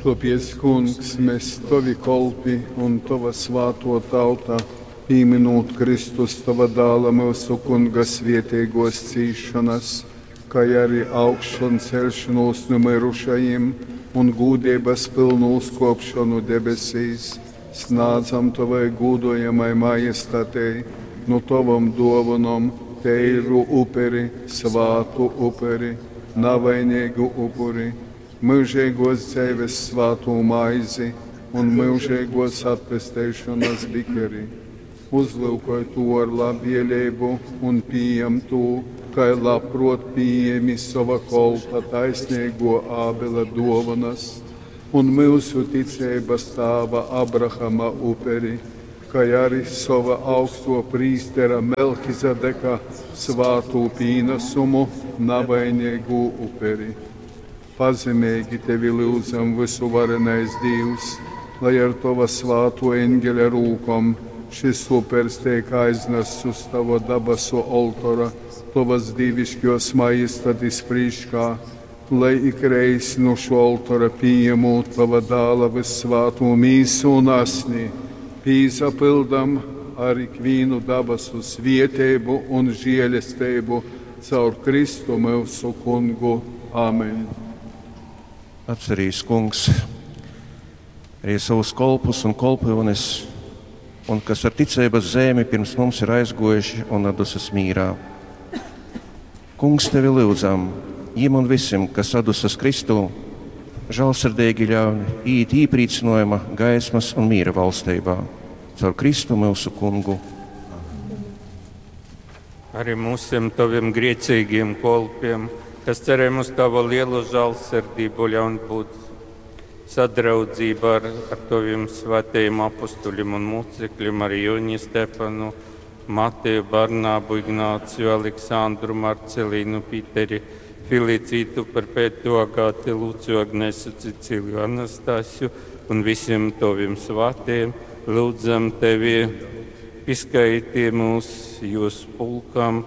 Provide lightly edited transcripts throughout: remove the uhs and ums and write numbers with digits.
Tōpēc, Kungs, mes, tovi kolpi un tova svātō tauta, pīmynūt Kristus, tova Dāla, myusu Kunga svēteigōs cīsšonas, kai ari augšanceļšonūs nu myrušajim un gūdeibas pylnu uzkōpšonu debesīs, snādzam tovai gūdojamai majestatei nu tovom dōvonom teiru uperi, svātu uperi, navaineigu upuri, myužeigōs dzeives svātū maizi un myužeigōs atpesteišonas bikeri. Uzlyukoj tū ar labvēleibu un pījam tū, kai labprōt pījēmi sova kolpa taisneigō Ābela dōvonas un myusu ticeibas tāva Abrahama uperi, kai ari sova augstō prīstera Melchizedeka svātū pīnasumu, navaineigū uperi. Pazemeigi tevi lyudzam, vysuvarenais Dīvs, lai ar tova svātō eņgeļa rūkom šys upers teik aiznasts uz tova dabasu oltora, tovas dīviškōs majestatis prīškā, lai ikreiz nu šō oltora pījemūt tova Dāla vyssvātū mīsu un asni, pīsapyldam ar ikvīnu dabasu svieteibu un žielesteibu caur Kristu myusu Kungu. Amen. Atcerīs, Kungs, arī savus kolpus un kolpyunes, un kas ar ticeibas zemi pirms mums ir aizguojuši un atdusas mīrā. Kungs, tevi lyudzam, jim un visim, kas atdusas Kristū, žālsirdīgi ļauj iet iepriecинājuma, gaismas un miera valstībā. Caur Kristu mūsu Kungu. Arī mūsiem taviem grēcīgiem kolpiem, kas cerējam uz tava lielo žālsirdību, ļaun būt sadraudzībā ar, ar taviem svētajiem apustuļiem un mocekļiem, ar Joni Stefanu, Mateju, Barnābu, Ignāciju, Aleksandru, Marcelīnu, Pīteri, Felicītu, Perpetu, Agāti, Lūciju, Agnesu, Ceciliju, Anastasiju un visiem taviem svētajiem. Lūdzam tevi, pieskaiti mūs jūs pulkam,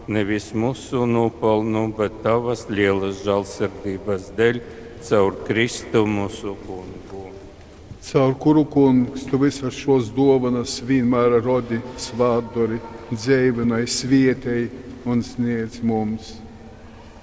nevis mūsu nopelnu, bet tavas lielas žālsirdības dēļ, caur Kristu mūsu kungu. Caur kuru, Kungs, tu visas šos dovanas vienmēr rodi, svātdori, dzeivināji, svietēji un sniedz mums.